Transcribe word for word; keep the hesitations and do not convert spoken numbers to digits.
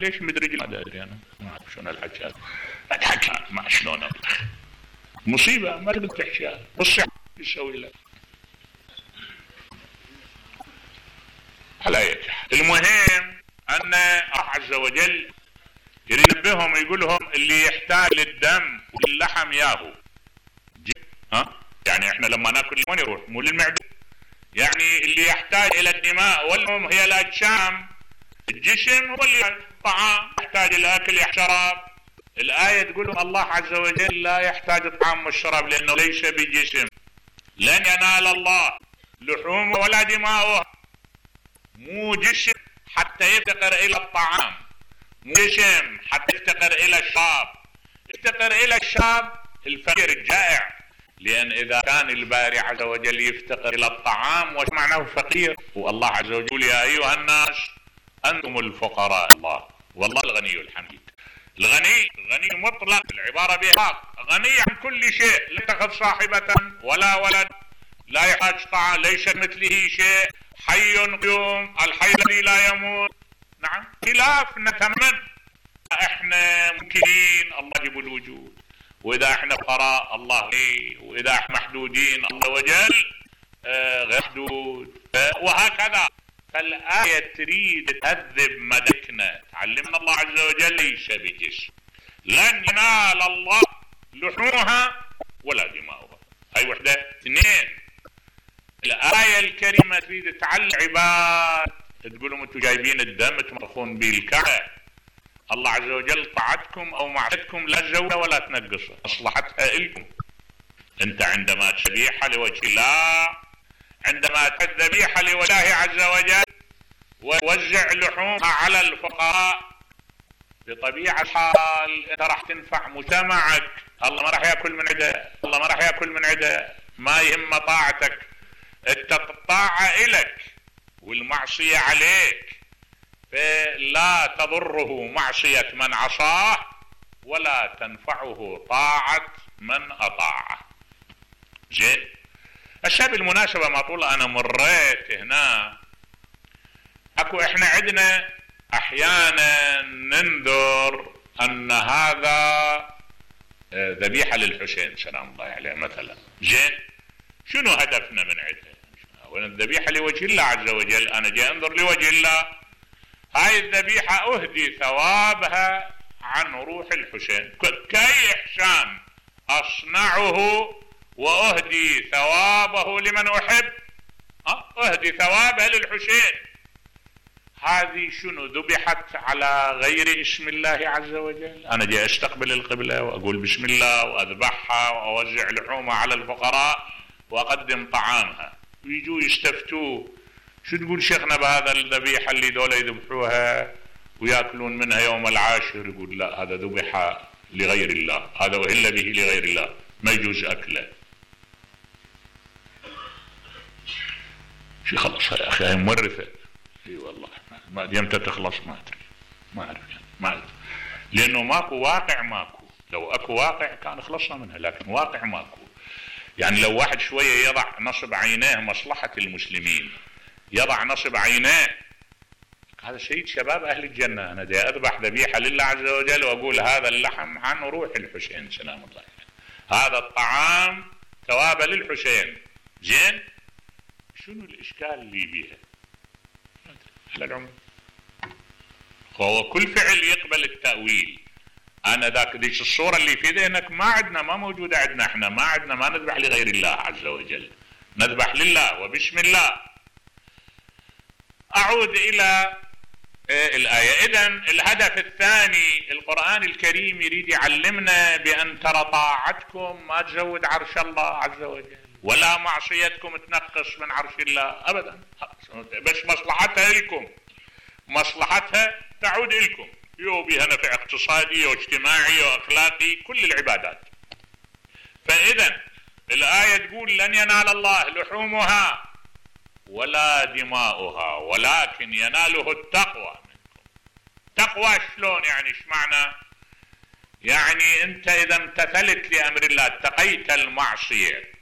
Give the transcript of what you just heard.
ليش مدرج ما ادري انا ما اعرف شلون الحكي هذا اتحكى ما شلون اطلع مصيبه ما تقدر تحكيها والصحه يسوي لك على اي حال. المهم ان الله عز وجل ينبههم يقول لهم اللي يحتاج للدم واللحم ياهو ها يعني احنا لما ناكل وين يروح مو للمعده يعني اللي يحتاج الى الدماء والهم هي الاجسام الجسم هو اللي الطعام يحتاج الاكل يحتراب. الايه تقول الله عز وجل لا يحتاج الطعام والشراب لانه ليس بجسم لن ينال الله لحومه ولا دماؤه مو جسم حتى يفتقر الى الطعام مو جسم حتى يفتقر الى الشراب يفتقر الى الشراب الفقير الجائع لأن إذا كان الباري عز وجل يفتقر إلى الطعام وش معناه فقير والله عز وجل يا أيها الناس أنتم الفقراء الله والله الغني الحميد. الغني غني مطلق العبارة بها غني عن كل شيء لا يتخذ صاحبة ولا ولد لا يحتاج طعام ليس مثله شيء حي قيوم الحي الذي لا يموت. نعم خلاف نتمنى احنا ممكنين الله يجيب الوجود واذا احنا فقراء الله ليه واذا احنا محدودين الله وجل آه غير محدود آه وهكذا. فالآية تريد تهذب مدكنا تعلمنا الله عز وجل ليس بجسم لن ينال الله لحومها ولا دماؤها. هاي وحدة. اثنين الآية الكريمة تريد تعلم عباد تقولوا انتم جايبين الدم تمرخون به الكعبة الله عز وجل طاعتكم او معصيتكم لا تزودها ولا تنقصها مصلحتها الكم. انت عندما تذبيحها لوجه الله عندما تذبيحها لوجه الله عز وجل ووزع لحومها على الفقراء بطبيعة الحال انت راح تنفع مجتمعك الله ما راح ياكل من عده الله ما راح ياكل من عده ما يهم طاعتك انت الطاعة الك والمعصية عليك فلا تضره معصية من عصاه ولا تنفعه طاعة من أطاعه. زين الشيء بالمناسبة ما طول أنا مريت هنا أكو إحنا عندنا أحيانا ننذر أن هذا ذبيحة للحسين سلام الله عليه مثلا. زين شنو هدفنا من عندها؟ الذبيحة لوجه الله عز وجل أنا جاي أنظر لوجه الله هاي الذبيحة أهدي ثوابها عن روح الحسين كأي إحسان أصنعه وأهدي ثوابه لمن أحب أهدي ثوابها للحسين. هذه شنو ذبحت على غير اسم الله عز وجل أنا جاي أستقبل القبلة وأقول بسم الله وأذبحها وأوزع لحومها على الفقراء وأقدم طعامها ويجوا يستفتوه شو تقول شيخنا بهذا الذبيحة اللي دولة يذبحوها ويأكلون منها يوم العاشر يقول لا هذا ذبح لغير الله هذا أهل به لغير الله ما يجوز أكله. شي خلص يا أخي هاي مورثة اي والله ما يمتى تخلص ما أدري ما أعرف ما أعرف لأنه ماكو واقع ماكو لو أكو واقع كان خلصنا منها لكن واقع ماكو. يعني لو واحد شوية يضع نصب عينيه مصلحة المسلمين يضع نصب عينيه هذا سيد شباب أهل الجنة أنا دي أذبح ذبيحة لله عز وجل وأقول هذا اللحم عن روح الحسين سلام الله عليه هذا الطعام ثوابه للحسين. زين شنو الإشكال اللي بيها على العموم هو كل فعل يقبل التأويل. أنا ذاك ديش الصورة اللي في ذهنك ما عندنا ما موجودة عندنا احنا ما عندنا ما نذبح لغير الله عز وجل نذبح لله وبسم الله. أعود إلى الآية. إذن الهدف الثاني القرآن الكريم يريد يعلمنا بأن ترى طاعتكم ما تزود عرش الله عز وجل ولا معصيتكم تنقص من عرش الله أبدا بس مصلحتها لكم مصلحتها تعود لكم يو بها نفع اقتصادي واجتماعي وأخلاقي كل العبادات. فإذن الآية تقول لن ينال الله لحومها ولا دماؤها ولكن يناله التقوى منكم. تقوى شلون يعني ايش معنى؟ يعني انت اذا امتثلت لامر الله اتقيت المعصية